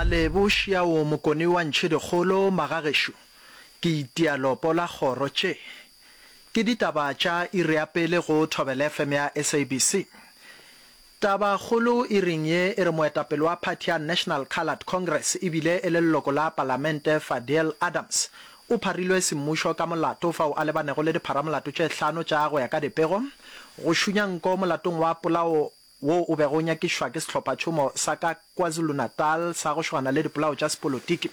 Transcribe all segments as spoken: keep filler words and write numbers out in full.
Malebo šiao Mokone wa Ntšhidikgolo magagešo ke itia lopo la kgoro tše ke ditaba tša iri ya pele go Thobela F M ya S A B C. Tabakgolo iring ye e re moetapele wa phathi ya National Coloured Congress ebile e le leloko la palamente Fadiel Adams o pharilwe semmušo ka molato fao a lebanego le dipharamolato tše hlano tša go ya ka dipego go šunya nko molatong wa polao wo o bego o nyakišwa ke sehlophatšhomo sa ka KwaZulu-Natal sa go šogana le dipolao tša sepolotiki.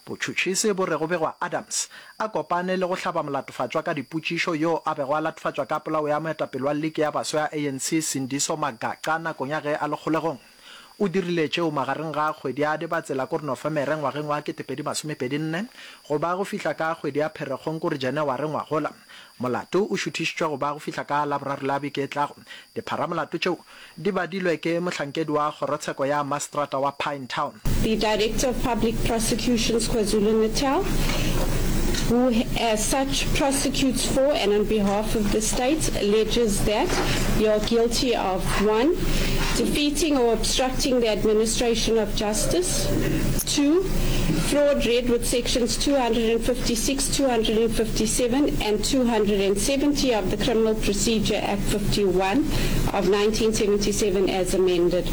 Botšhotšhisi bo re go begwa Adams a kopane le go hlaba molatofatšwa ka dipotšišo yo a bego a latofatšwa ka polao ya moetapele wa liki ya baswa ya A N C Sindiso Magaqa nakong ya ge a le kgolegong. O dirile tšeo magareng ga kgwedi ya Dibatsela kore Nofemere ngwageng wa ketepedi masomepedi nne go ba go fihla ka kgwedi ya Pherekgong kore Janaware ngwagola. Molato o šuthišitšwe go ba go fihla ka Laboraro la beke e tlago. Dipharamolato tšeo di badilwe ke mohlankedi wa kgorotsheko ya mastrata wa Pinetown. The Director of Public Prosecutions KwaZulu-Natal, who as such prosecutes for and on behalf of the state, alleges that you are guilty of one, defeating or obstructing the administration of justice, two, fraud read with sections two hundred fifty-six, two hundred fifty-seven and two hundred seventy of the Criminal Procedure Act fifty-one of nineteen seventy-seven as amended.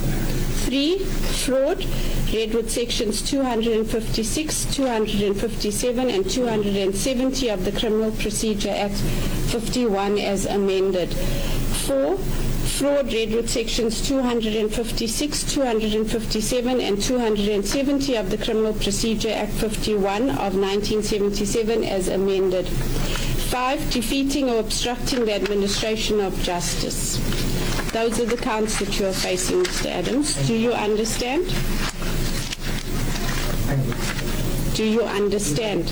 Three, fraud, read with sections two hundred fifty-six, two hundred fifty-seven and two hundred seventy of the Criminal Procedure Act fifty-one as amended. Four, fraud read with sections two hundred fifty-six, two hundred fifty-seven and two hundred seventy of the Criminal Procedure Act fifty-one of nineteen seventy-seven as amended. Five, defeating or obstructing the administration of justice. Those are the counts that you are facing, Mister Adams. Do you understand? Do you understand?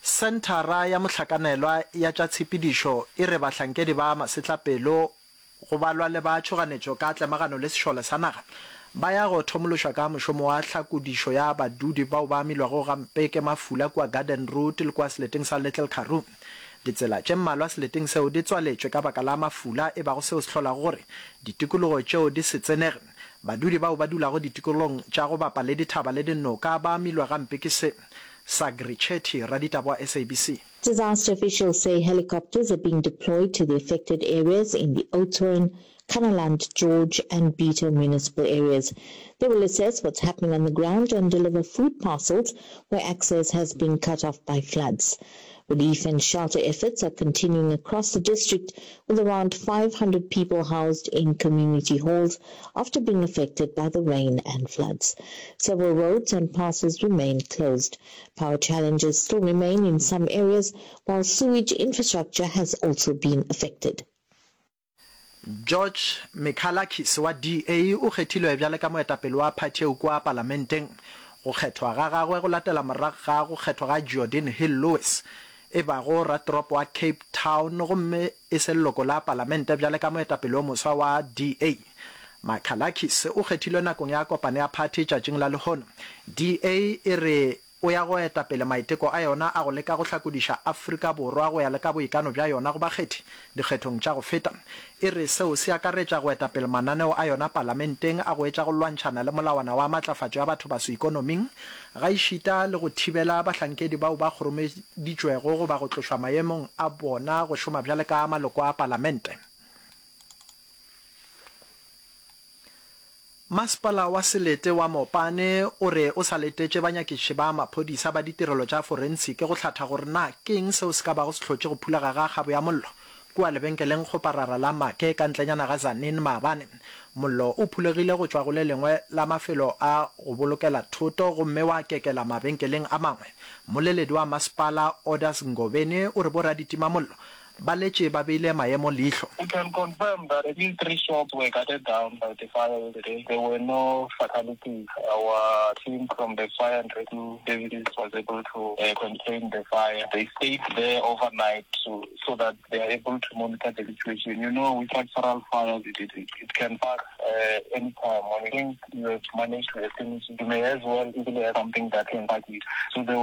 Senthara ya Mohlakanelwa ya tša Tshepedišo e re bahlankedi ba masetlapelo go balwa le ba tšhoganetšo ka tlemagano le sešole sa naga ba ya go thomološwa ka mošomo wa tlhakodišo ya badudi bao ba amilwego gampe ke mafula kua Garden Route le kua seleteng sa Little Karoo. Ditsela tše mmalwa seleteng seo di tswaletšwe ka baka la mafula e bago seo se hlolago gore ditikologo tšeo di se tsenege. Badudi bao ba dulago ditikologong tša go bapa le dithaba le dinoka ba amilwe gampe ke se. Sagri Chetty, raditaba wa S A B C. Disaster officials say helicopters are being deployed to the affected areas in the Oudtshoorn, Kannaland, George and Bitou municipal areas. They will assess what's happening on the ground and deliver food parcels where access has been cut off by floods. Relief and shelter efforts are continuing across the district, with around five hundred people housed in community halls after being affected by the rain and floods. Several roads and passes remain closed. Power challenges still remain in some areas, while sewage infrastructure has also been affected. George Michalakis wa D A o kgethilwe bjale ka moetapele wa phathi eo kua palamenteng. Go kgethwa ga gagwe go latela morago ga go kgethwa ga Geordin Hill-Lewis e bago ratoropo wa Cape Town gomme e se leloko la palamente bjale ka moetapele o moswa wa D A. Michalakis o kgethilwe nakong ya kopano ya phathi tšatšing la lehono. D A e re o ya go eta pele maiteko a yona a go leka go hlakodiša Afrika Borwa go ya le ka boikano bja yona go bakgethi dikgethong tša go feta. E re seo se akaretša go eta pele mananeo a yona palamenteng a go etša go lwantšhana le molawana wa matlafatšo ya bathobaso ikonoming gaešita le go thibela bahlankedi bao ba kgoromeditšwego goba go tlošwa maemong a bona go šoma bjale ka maloko a palamente. Masepala wa selete wa Mopane o re o sa letetše banyakišiši ba maphodisa ba ditirelo tša forensiki go hlatha gore na ke eng seo se ka bago se hlotše go phulega ga kgabo ya mollo kua lebenkeleng kgoparara la Make ka ntlenyana ga Tzaneen maabane. Mollo o phulegile go tšwa go le lengwe la mafelo a go bolokela thoto gomme wa kekela mabenkeleng a mangwe. Mmoleledi wa masepala Orders Ngobeni o re boraditimamollo ba letše ba beile maemo leihlo. We can confirm that at least three shops were gutted down by the fire yesterday. There were no fatalities. Our team from the fire and rescue services was able to uh, contain the fire. They stayed there overnight to, so that they are able to monitor the situation. You know, with structural fires, it, it, it can spark uh, anytime. When you think you have managed to extinguish it, you may as well easily have something that can spark it. So there